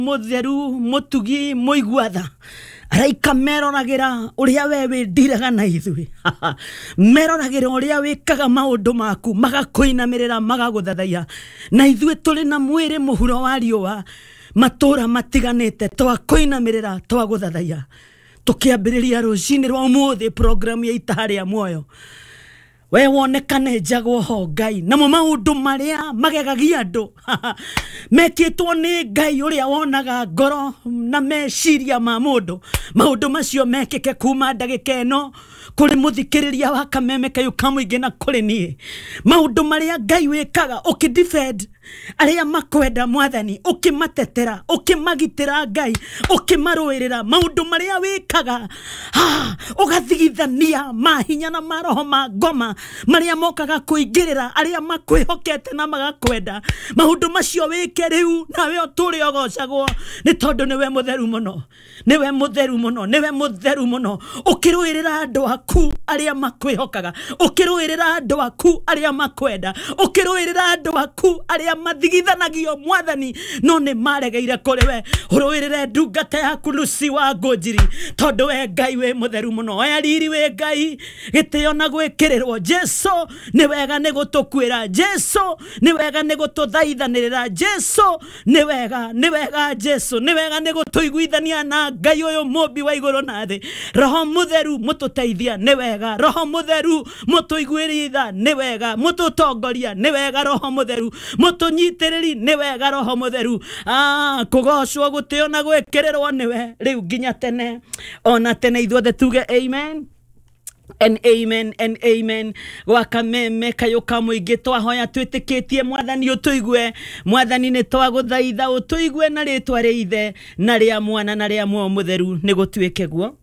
Mũtheru, mũtugi, mũigua tha. Araika meroragĩra ũrĩa we wĩndiraga na ithuĩ, meroragĩra ũrĩa wĩkaga maũndũ maku, magakũinamĩrĩra, magagũthathaiya. Na ithuĩ tũrĩ na mwĩrĩ mũhuro wa riũa, matũũra matiganĩte, twakũinamĩrĩra, twagũthathaiya. Tũkĩambĩrĩria rũcinĩ rwa ũmũthĩ programu ya Itaha rĩa Muoyo, we wonekane njagwo ho Ngai. Namo maũndũ marĩa magegagia andũ mekĩtwo nĩ Ngai ũrĩa wonaga ngoro na meciria ma mũndũ, maũndũ macio mekĩke kuma ndagĩka ĩno kũrĩ mũthikĩrĩria wa Kameme Kayũ ka Mũingĩ na kũrĩ niĩ. Maũndũ marĩa Ngai wĩkaga ũkĩdefend arĩa makwenda, Mwathani, ũkĩmatetera, ũkĩmagitĩra, Ngai, ũkĩmarũĩrĩra, maũndũ marĩa wĩkaga ha, ũgathigithania mahinya na maroho ma ngoma marĩa mokaga kũingĩrĩra arĩa makwĩhokete na magakwenda, maũndũ macio wĩke rĩu, nawe ũtũre ũgocagwo, nĩ tondũ nĩwe mũtheru mũno, nĩwe mũtheru mũno, nĩwe mũtheru mũno. Ũkĩrũĩrĩra andũ aku arĩa makwĩhokaga, ũkĩrũĩrĩra andũ aku arĩa makwenda, ũkĩrũĩrĩra andũ aku arĩa mathigithanagio, Mwathani, no nĩ maregeire kũrĩ we. Ũrũĩrĩre ndungata yaku Lucy wa Ngũnjiri, tondũ we Ngai wĩ mũtheru mũno. Oya riri, wĩ Ngai, gĩtĩo na gwĩkĩrĩrwo. Jesu, nĩ wega nĩ gũtũkuĩra. Jesu, nĩ wega nĩ gũtũthaithanĩrĩra. Jesu, nĩ wega, nĩ wega. Jesu, nĩ wega nĩ gũtũiguithania na Ngai ũyũ mũmbi wa igũrũ na thĩ. Roho Mũtheru mũtũteithia, nĩ wega. Roho Mũtheru mũtũiguĩritha, nĩ wega. Mũtũtongoria, nĩ wega. Roho Mũtheru mũtũnyitĩrĩri, nĩ wega. Roho Mũtheru, kũgocwo, gũtĩo na gwĩkĩrĩrwo nĩwe rĩu nginya tene ona tene. Ithuothe tuge amen and amen and amen. Gwa Kameme Kayũ ka Mũingĩ twahoya twĩtĩkĩtie Mwathani ũtũigue. Mwathani, nĩ twagũthaitha ũtũigue na rĩtwa rĩa Ithe na rĩa Mwana na rĩa Muoyo Mũtheru. Nĩ gũtuĩke guo.